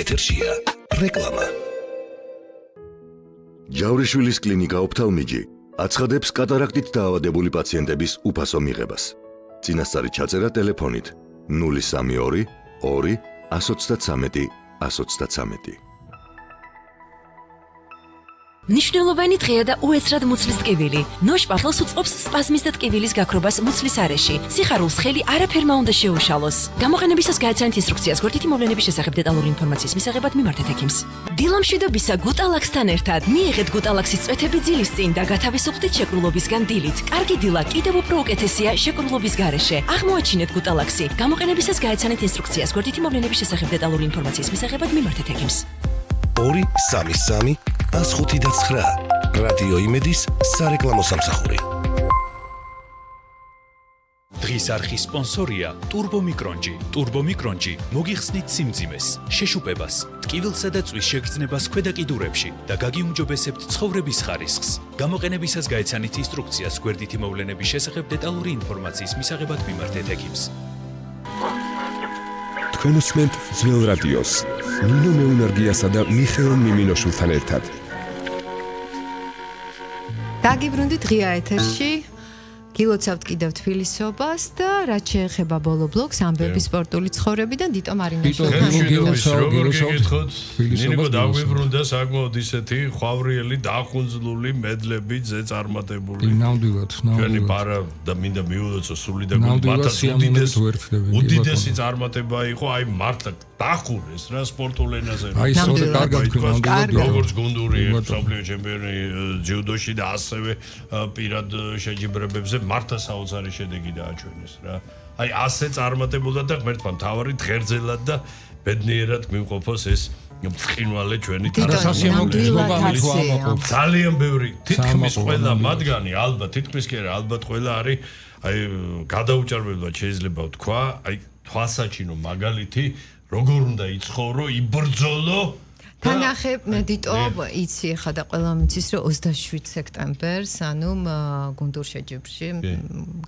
ეთერშია რეკლამა. ჯავრიშვილის კლინიკა ოფთალმიჯი აცხადებს კატარაქტით დაავადებული პაციენტების უფასო მიღებას. წინასწარი ჩაწერა ტელეფონით 032 2 133 133. მნიშვნელოვანი დღეა და უეცრად მუცლის ტკივილი. ნოშპახელს უწყობს სპაზმის და ტკივილის გაქრობას მუცლის არეში. სიხარულს ხელი არაფერმა უნდა შეუშალოს. გამოყენებისას გაეცანით ინსტრუქციას გვერდითი მოვლენების შესახებ დეტალური ინფორმაციის მისაღებად მიმართეთ ექიმს. დილამშვიდობისა გუტალაქსთან ერთად მიიღეთ გუტალაქსის წვეთები ძილის წინ და გათავისუფლდით შეკრულობისგან დილით. კარგი დილა კიდევ უფრო უკეთესია შეკრულობის გარეშე. აღმოაჩინეთ გუტალაქსი. გამოყენებისას გაეცანით ინსტრუქციას გვერდითი მოვლენების შესახებ დეტალური ინფორმაციის მისაღებად მიმართეთ ექიმს. 233 159 რადიო იმედის სარეკლამო სამსახური. დღის არხის სპონსორია ტურბომიკრონჯი. ტურბომიკრონჯი მოგიხსნით სიმძიმეს, შეშუპებას, ტკივილსა და წვის შეგრძნებას ქვედა კიდურებში და გაგიუმჯობესებთ ცხოვრების ხარისხს. გამოყენებისას გაეცანით ინსტრუქციას გვერდითი მოვლენების შესახებ დეტალური ინფორმაციის მისაღებად მიმართეთ ექიმს. თქვენ უსმენთ ძველ რადიოს ნინო მეუნარგიასა და მიხეილ მიმინოშვილთან ერთად. დაგიბრუნდით ღია ეთერში. გილოცავთ კიდევ თბილისობას და რაც შეეხება ბოლო ბლოკს ამბები სპორტული ცხოვრებიდან დიტო მარინაშვილთან. ნინო დაგვიბრუნდა საკმაოდ ისეთი ხვავრიელი დახუნძლული მედლები ზეწარმატებული. ნამდვილად. ჩვენი პარა და მინდა მიულოცო სული და მათაც უდიდესი წარმატება იყო, აი მართლა დახურეს რა სპორტულ ენაზე. აი სწორედ კარგად თქვენ როგორც გუნდური მსოფლიო ჩემპიონი ჯიუდოში და ასევე პირად შეჯიბრებებზე მართლა საოცარი შედეგი დააჩვენეს რა. აი ასე წარმატებულად და ღმერთმა მთავარი ღერძელად და ბედნიერად გვიმყოფოს ეს მწყინვალე ჩვენი ძალიან ბევრი თითქმის ყველა მათგანი ალბათ თითქმის კი არა ალბათ ყველა არის აი გადაუჭარბებლად შეიძლება ვთქვა აი თვალსაჩინო მაგალითი როგორ უნდა იცხოვრო იბრძოლო თანახე დიტო იცი ხა და ყველა მიცის რომ 27 სექტემბერს ანუ გუნდურ შეჯიბრში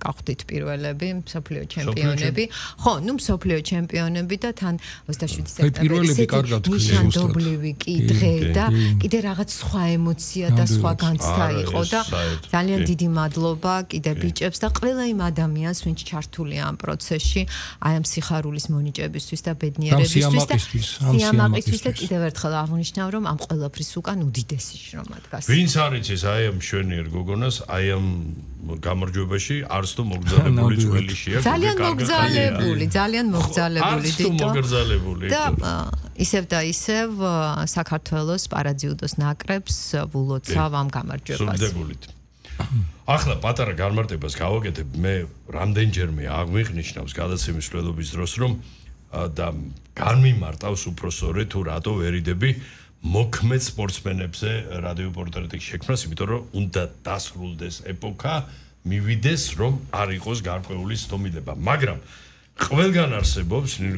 გავხდით პირველები მსოფლიო ჩემპიონები ხო ნუ მსოფლიო ჩემპიონები და თან 27 სექტემბერს ნიშანდობლივი კი დღე და კიდე რაღაც სხვა ემოცია და სხვა განცდა იყო და ძალიან დიდი მადლობა კიდე ბიჭებს და ყველა იმ ადამიანს ვინც ჩართულია ამ პროცესში აი ამ სიხარულის მონიჭებისთვის და ბედნიერებისთვის და სიამაყისთვის და კიდევ ერთხელ აღნიშნავ რომ ამ ყველაფრის უკან უდიდესი შრომა დგას. ვინც არის ეს აი ამ შვენიერ გოგონას აი ამ გამარჯვებაში არც თუ მოგზალებული ძველიშია ძალიან მოგზალებული დიტო და ისევ და ისევ საქართველოს პარაძიუდოს ნაკრებს ვულოცავ ამ გამარჯვებას. სულდაგულით. ახლა პატარა განმარტებას გავაკეთებ მე რამდენჯერმე აღვინიშნავს გადაცემის მცველობის დროს რომ და განმიმარტავს უფრო სწორედ თუ რატო ვერიდები მოქმედ სპორტსმენებზე რადიო პორტრეტის შექმნას, იმიტომ რომ უნდა დასრულდეს ეპოქა, მივიდეს რომ არ იყოს გარკვეული სტომილება, მაგრამ ყველგან არსებობს ნინო